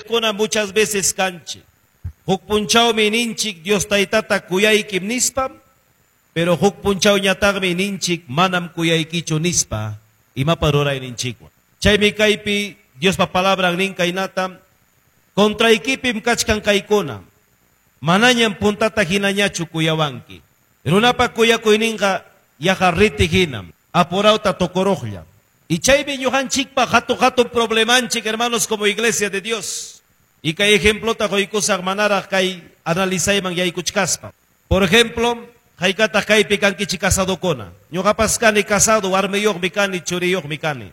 ñuqanchikkuna muchas veces kanchik. Huk punchawmi ninchik Dios Taytata kuyaykim nispam, pero huk punchawñataqmi ninchik manam kuyaykichu nispa imapa rurayninchikwan. Chaymi kaypi Diospa palabran nin kaynata, contraykipim kachkan kaykuna, manañam puntata hinañachu kuyawanki. Runapa kuyakuyninqa yaqa riti hinam, apurawta tukuruqlla. Y chaymi ñuqanchikpa hatun hatun problemanchik, hermanos, como iglesia de Dios. Y kay ejemplota quykusaq manaraq kay analizayman yaykuchkaspa. Por ejemplo, haykataq kaypi kankichik casadokuna. Ñuqapas kani casado, warmiyuqmi kani, churiyuqmi kani.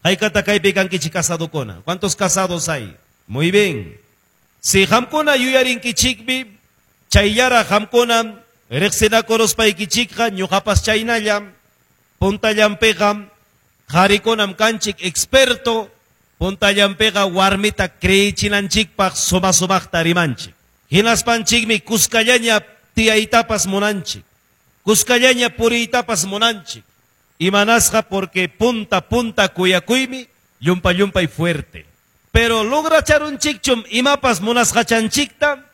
Haykataq kaypi kankichik casadokuna. ¿Cuántos casados hay? Muy bien. Si qamkuna yuyarinkichikmi, chayllaraq qamkuna riqsinakuruspaykichikqa ñuqapas chaynallam, puntallanpiqa qharikunam kanchik experto, puntallanpiqa warmita creichinanchikpaq suma sumaqta rimanchik. Hinaspanchikmi kuskallaña tiyaytapas munanchik, kuskallaña puriytapas munanchik. Imanasqa porque punta punta kuyakuymi llumpa llumpay fuerte. Pero logracharunchikchum imapas munasqachanchikta,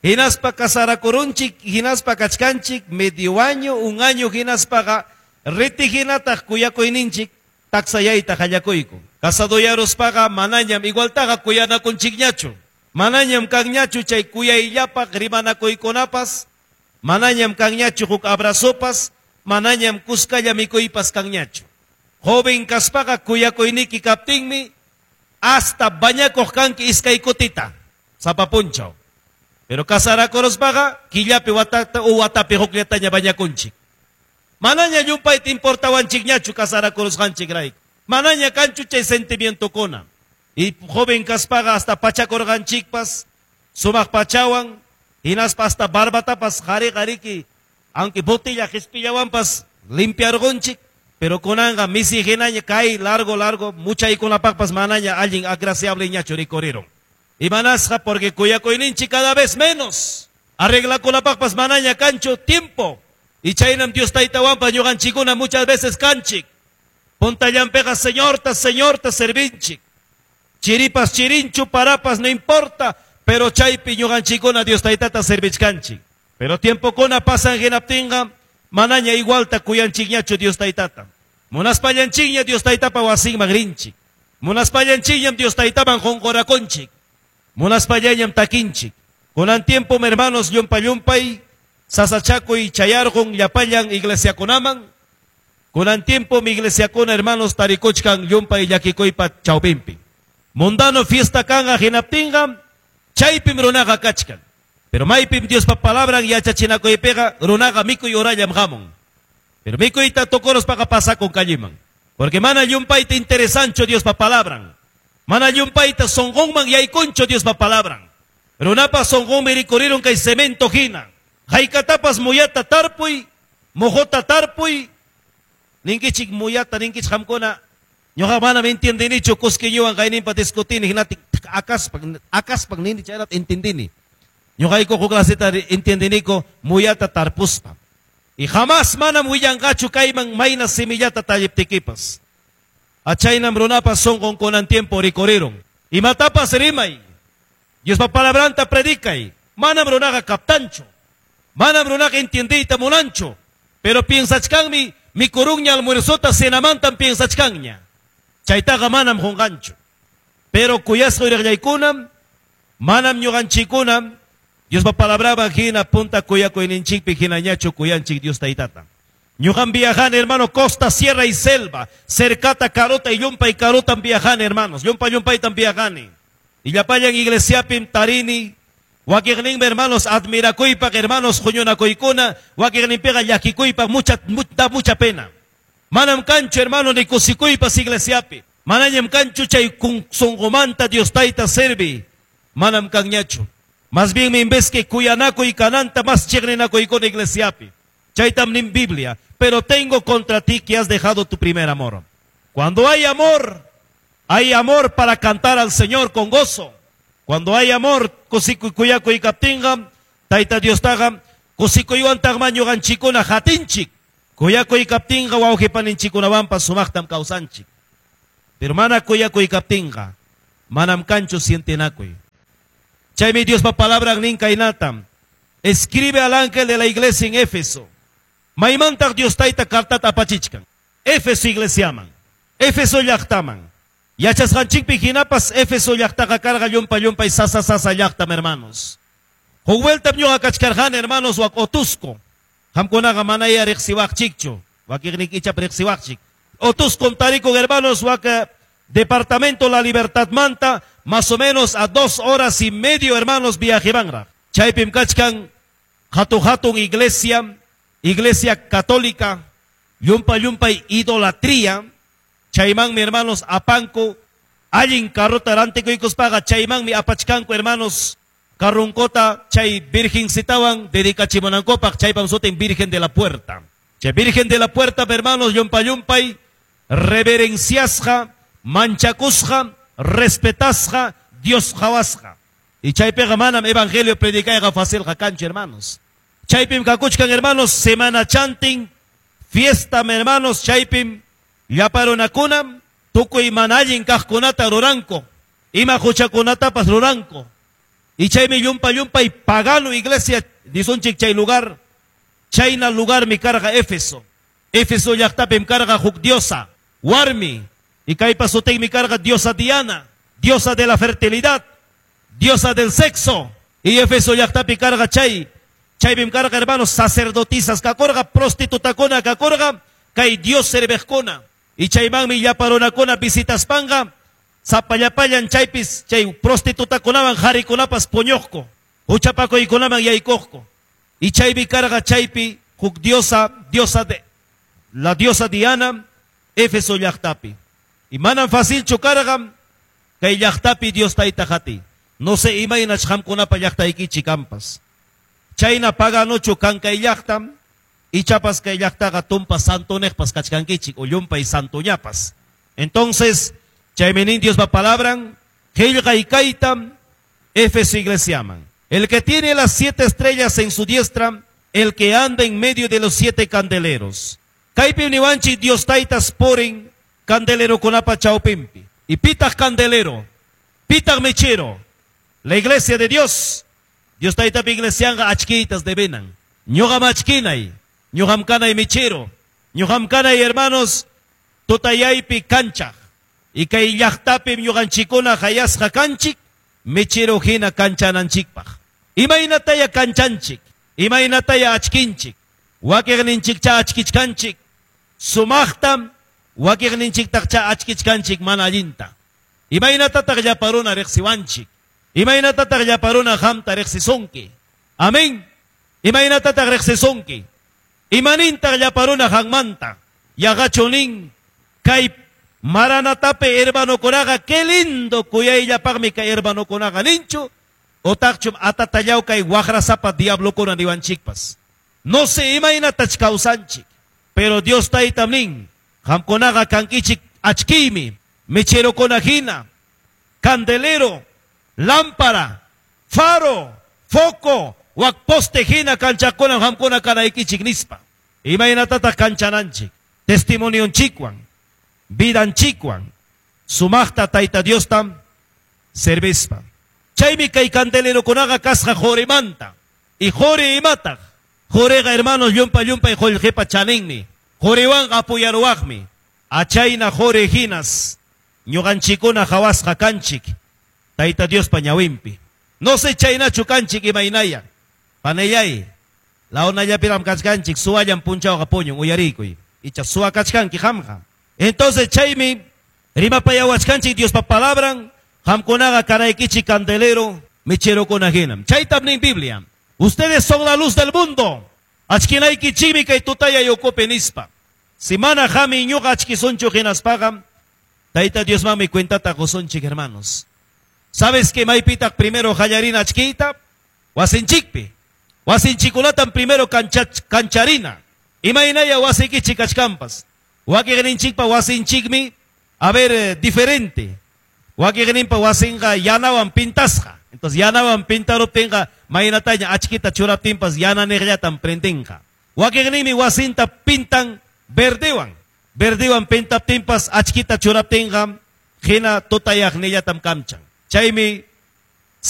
hinaspa casarakurunchik, hinaspa kachkanchik medio año, un año hinaspaqa riti hinataq kuyakuyninchik taksayayta qallakuyku. Casadoyaruspaqa manañam igualtaqa kuyanakunchikñachu. Manañam kanñachu chay kuyayllapaq rimanakuykunapas, manañam kanñachu huk abrazopas, manañam kuskalla mikuypas kanñachu. Joven kaspaqa kuyakuyniki kaptinmi hasta bañakuq kanki iskay kutita, sapa punchaw. Pero casarakuruspaqa killapi watata u watapi hukllataña bañakunchik. Manaña llumpayta importawanchikñachu casarakurusqanchikrayku. Manaña kanchu chay sentimientokuna. Y joven kaspaqa hasta pachakurqanchikpas, sumaq pachawan, hinaspa hasta barbatapas qari qariki, aunque botella qispillawanpas limpiarqunchik, pero kunanqa misi hinaña kay largo largo muchaykunapaqpas manaña allin agraciable ñachu rikuriron. Imanasqa porque kuyakuyninchik cada vez menos. Arreglakunapaqpas manaña kanchu tiempo. Y chaynam Dios Taytawanpas ñuqanchikkuna muchas veces kanchik. Puntallanpiqa Señorta, Señorta servinchik. Chiripas chirinchu, parapas no importa, pero chaypi ñuqanchikkuna Dios Taytata servichkanchik. Pero tiempokuna pasan hinaptinqa manaña igualta kuyanchikñachu Dios Taytata. Munaspallanchikña Dios Taytapa wasinman rinchik. Munaspallanchikñam Dios Taytaman qunqurakunchik. Munaspallañam takinchik. Kunan tiempo, hermanos, llumpa llumpay, sasachakuy chayarqun llapallan iglesiakunaman. Kunan tiempo mi iglesiakuna, hermanos, tarikuchkan llumpay llakikuypa chawpinpi. Mundano fiesta kanqa hinaptinqa, chaypim runaqa kachkan. Pero maypim Diospa palabran yachachinakuypiqa runaqa mikuy horallam hamun. Pero mikuyta tukuruspaqa pasakun kalliman. Porque mana llumpayta interesancho Diospa palabran. Mana llumpayta sunqunman yaykuncho Diospa palabran. Runapa sunqunmi rikurirun kay cemento hina. Haykatapas muyata tarpuy, mojota tarpuy, ninkichik muyata, ninkichik qamkuna. Ñuqa manam entiendinichu kuskiñuwan kayninpa discutini hinati akaspan, akaspan nini chaynata entendini. Ñuqayku huk claseta entiendiniku muyata tarpuspa. Y jamás manam willanqachu kayman mayna semillata talliptikipas. Achaynam runapas sunqun kunan tiempo rikurirun. Imatapas rimay. Diospa palabranta predicay. Manam runaqa kaptanchu. Manam runaqa entiendiyta munanchu. Pero piensachkanmi mikurunña almuerzota cenamantam piensachkanña. Chaytaqa manam qunqanchu. Pero kuyasqa uyriqllaykunam, manam ñuqanchikkunam Diospa palabraman hina punta kuyakuyninchikpi hinañachu kuyanchik Dios Taytata. Ñuqam viajani, hermano, costa, sierra y selva, cercata, carota y llumpa y carotam viajani, hermanos, llumpa llumpaytam viajani. Y llapallan iglesiapim tarini, wakiqninmi, hermanos, admirakuypaq, hermanos, huñunakuykuna, wakiqninpiqa llakikuypaq, mucha, da mucha pena. Manam kanchu, hermano, ni kusikuypas iglesiapi. Manañam kanchu chay sunqumanta Dios Tayta servi. Manam kanñachu. Más bien me en vez que kuyanakuy kananta más chiqninakuykuna iglesiapi. Chaytam nin Biblia. Pero tengo contra ti que has dejado tu primer amor. Cuando hay amor para cantar al Señor con gozo. Cuando hay amor, kusikuy kuyakuy kaptinqa, Tayta Diostaqa, kusikuywantaqma ñuqanchikkuna hatinchik. Kuyakuy kaptinqa wawqipaninchikkunawanpas sumaqtam kawsanchik. Pero mana kuyakuy kaptinqa, manam kanchu sientinakuy. Chaymi Diospa palabran nin kaynatam. Escribe al ángel de la iglesia en Éfeso. Maymantaq Dios Tayta cartata apachichkan. Éfeso iglesiaman. Éfeso llaqtaman. Yachasqanchikpi hinapas Éfeso llaqtaqa karqa llumpa llumpay sasa sasa llaqtam, hermanos. Huk vueltam ñuqa kachkarqani, hermanos, wak Otusco. Qamkunaqa manaya riqsiwaqchikchu. Wakiqniki ichap riqsiwaqchik. Otuscom tarikun, hermanos, wak departamento La Libertad manta, más o menos a 2 horas y medio, hermanos, viajemanraq. Chaypim kachkan hatun hatun iglesia, iglesia católica, llumpa llumpay idolatría. Chaymanmi, hermanos, apanku allin carrota rantikuykuspaqa chaymanmi apachkanku, hermanos, carrunkota chay virgencitawan dedicachimunankupaq, chaypam sutin Virgen de la Puerta. Chay Virgen de la Puerta, hermanos, llumpa llumpay reverenciasqa, manchakusqa, respetasqa, Dios qhawasqa. Y chaypiqa manam evangelio predicayqa facilqa kanchu, hermanos. Chaypim kakuchkan, hermanos, semana chantin, fiesta, hermanos, chaypim llapa runakunam tukuy mana allin kaqkunata ruranku, ima huchakunatapas ruranku. Y chaymi llumpa llumpay pagano iglesia, disunchik chay lugar, chayna lugar mi karqa Éfeso. Éfeso llaqtapim karqa huk diosa, warmi, y kaypa sutinmi karqa diosa Diana, diosa de la fertilidad, diosa del sexo. Y Éfeso llaqtapi karqa chay, chaypim karqa, hermanos, sacerdotisas kakurqa, prostitutakuna kakurqa, kay Dios serviqkuna. Y chaymanmi llapa runakuna visitaspanqa, sapallapallan chaypis chay prostitutakunawan harikunapas puñuqku, huchapakuykunaman yaykuqku. Y chaypi karqa chaypi huk diosa, diosa de la diosa Diana, Éfeso llaqtapi. Y manam facilchu karqa kay llaqtapi Dios tayta hati. No sé imaynach qamkunapa llaqtaykichik kampas. Chayna paganochu kan kay llaqtam, ichapas kay llaqtaqa tumpa santoneqpas kachkankichik o llumpay santoñapas. Entonces, chaymi nin Diospa palabran, qillqay kaytam Éfeso iglesiaman. El que tiene las 7 estrellas en su diestra, el que anda en medio de los 7 candeleros. Kaypi niwanchik Dios taytas porin candelero kunapa chawpimpi. Y pitaq candelero, pitaq mechero. La iglesia de Dios, Dios taytapi iglesianqa achkitas debenan. Ñuqam achkinay, ñuqam kanay mechero, ñuqam kanay, hermanos, tutayaypi kanchaq. Y kay llaqtapim ñuqanchikuna hayasqa kanchik, mechero hina kanchananchikpaq. Imaynataya kanchanchik, imaynataya achkinchik, wakiqninchikcha achkichkanchik, sumaqtam wakiqninchiktaqcha achkichkanchik mana allinta. Imaynatataq llapa runa riqsiwanchik, imaynatataq llapa runa qamta riqsisunki. Amén. Imaynatataq riqsisunki. Imanintaq llapa runa qanmanta. Yaqachu nin kay Maranatapi hermanokunaqa qué lindo kuyayllapaqmi kay hermanokunaqa ninchu, otaqchum atatallaw kay waqrasapa diablokuna niwanchikpas. No sé imaynatach kawsanchik, pero Dios taytam nin, qamkunaqa kankichik achkiymi, mecherokuna hina, candelero, lámpara, faro, foco, wak poste hina kanchakuna qamkuna kanaykichik nispa. Imaynatataq kanchananchik, testimonionchikwan, vidanchikwan, sumaqta Tayta Diostam servispa. Chaymi kay candelerokunaqa kasqa qorimanta. Y qori imataq? Qoriqa, hermanos, llumpa llumpay qullqipa chaninmi. Qoriwanqa apoyaruwaqmi. Achayna qori hinas ñuqanchikuna qhawasqa kanchik Tayta Diospa ñawinpi. No sé chaynachu kanchik imaynaya. Panellay, launallapiram kachkanchik, suwallan punchawqa puñun uyarikuy. Icha suwa kachkanki qamqa. Entonces chaymi rimapayawachkanchik Diospa palabran, qamkunaqa kanaykichik candelero, mecherokuna hinam. Chaytam nin Biblia. Ustedes son la luz del mundo. Achkinaykichikmi kay tutaya ukupi nispa. Si mana qami ñuqa achkisunchu hinaspaqa, Tayta Diosmanmi cuentata qusunchik, hermanos. ¿Sabes que maypitaq primero qallarina achkiyta? Wasinchikpi. Wasinchikunatam primero kancharina. Imaynaya wasiykichik kachkanpas. Wakiqninchikpa wasinchikmi, a ver, diferente. Wakiqninpa wasinqa yanawan pintasqa. Entonces yanawan pintaruptinqa maynataña achkita churaptinpas yananiqllatam prendinqa. Wakiqninmi wasinta pintan verdewan. Verdewan pintaptinpas achkita churaptinqa hina tutayaqnillatam kamchan. Chaymi